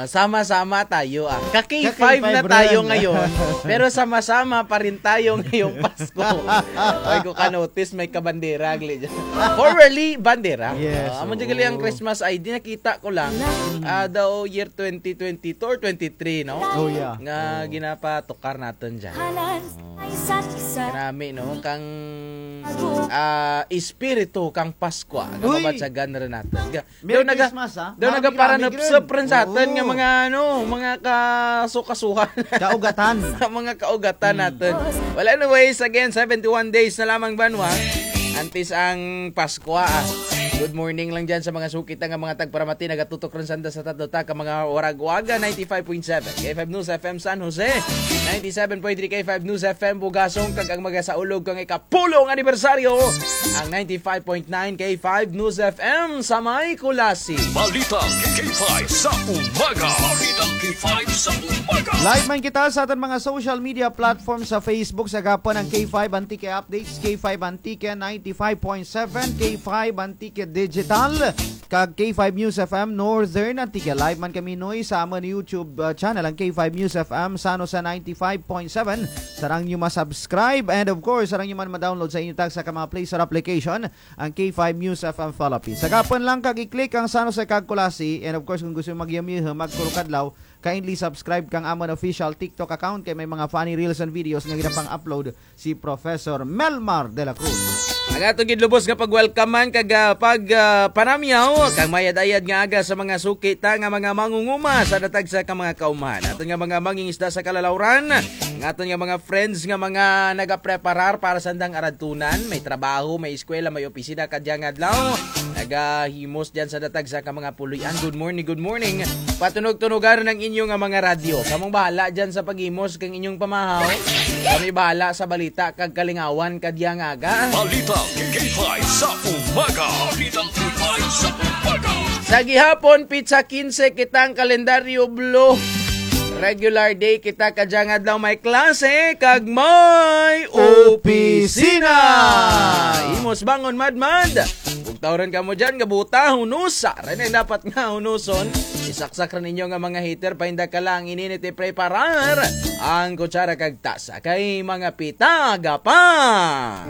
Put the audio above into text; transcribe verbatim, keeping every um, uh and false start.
Sama-sama tayo, ah. Ka-K five na tayo ngayon, pero sama-sama pa rin tayo ngayong Pasko. Ay, kung ka-notice, may kabandera, gali dyan. Formerly, bandera. Yes, ah, amo dyan gali ang oo. Christmas I D, nakita ko lang. Mm. Ah, daw year twenty twenty-two or twenty-three, no? Oh, yeah. Nga oo. Ginapatukar natin dyan. Kanami, no? Kang, ah, espiritu kang Pasko, ah, uy! Kamabatsagan rin natin. Ga-, Merry daw naga-, Christmas, ah. Daw nagaparanupsup rin sa atin nga mga, ano, mga kasukasuhan. Kaugatan. Sa mga kaugatan natin. Well, anyways, again, seventy-one days na lamang, banwa. Antes ang Pasko, ah. Good morning lang dyan sa mga suki ta nga mga tagparamati, nagatutok rin sanda sa tatlo ta ka mga waragwaga, ninety-five point seven K five News F M San Jose, ninety-seven point three K five News F M Bugasong, kag ang magasaulog kang ikapulong anibersaryo, ang ninety-five point nine K five News F M sa may Culasi. Balitang K five sa umaga. Balitang K five sa umaga. Live man kita sa atun mga social media platform sa Facebook, sa gihapon ang K five Antique Updates, K five Antique ninety-five point seven, K five Antique Digital, kag K five News F M Northern Antique. Live man kami, Noy, sa amun YouTube, uh, channel, ang K five News F M San Jose ninety-five point seven. Sarang nyo ma-subscribe and of course, sarang nyo man ma-download sa inyo tagsa ka mga Play Store application, ang K five News F M Philippines. Sa gihapon lang kag i-click ang San Jose kag Culasi. And of course, kung gusto nyo magyamyuha, magkurukadlaw, kindly subscribe kang amun official TikTok account kay may mga funny reels and videos nga ginapang-upload si Professor Melmar de la Cruz. Ang atun gid lubos nga pagwelcomean kag, ah, pag, ah, panamyaw kang mayad-ayad nga aga sa mga suki ta nga mga mangunguma sa datag sa ka mga kaumhan. Atun nga mga mangingisda sa kalalawran, ang atun nga mga friends nga mga nagapreparar para sa andang aradtunan, may trabaho, may eskwela, may opisina kadya nga adlaw, nagahimos dyan sa datag sa ka mga puloy-an. Good morning, good morning. Patunog-tunugan ang inyo nga mga radyo. Kamong bahala dyan sa paghimos kang inyong pamahaw. Kami bahala sa balita kag kalingawan kadya nga aga. Balita K five sa umaga. Balita K five sa umaga. Sa gihapon, pitsa kinse kitang kalendaryo blue. Regular day kita kadya nga adlaw, may klase kag may opisina. Opisina. Himos bangon madmad. Ug tawran kamo dyan nga buta, hunusa. Ray na dapat nga hunuson. Isaksak ra ninyo nga mga heater, painda ka lang ininit, ipreparar ang kutsara kag tasa. Kay mga pitaga pa.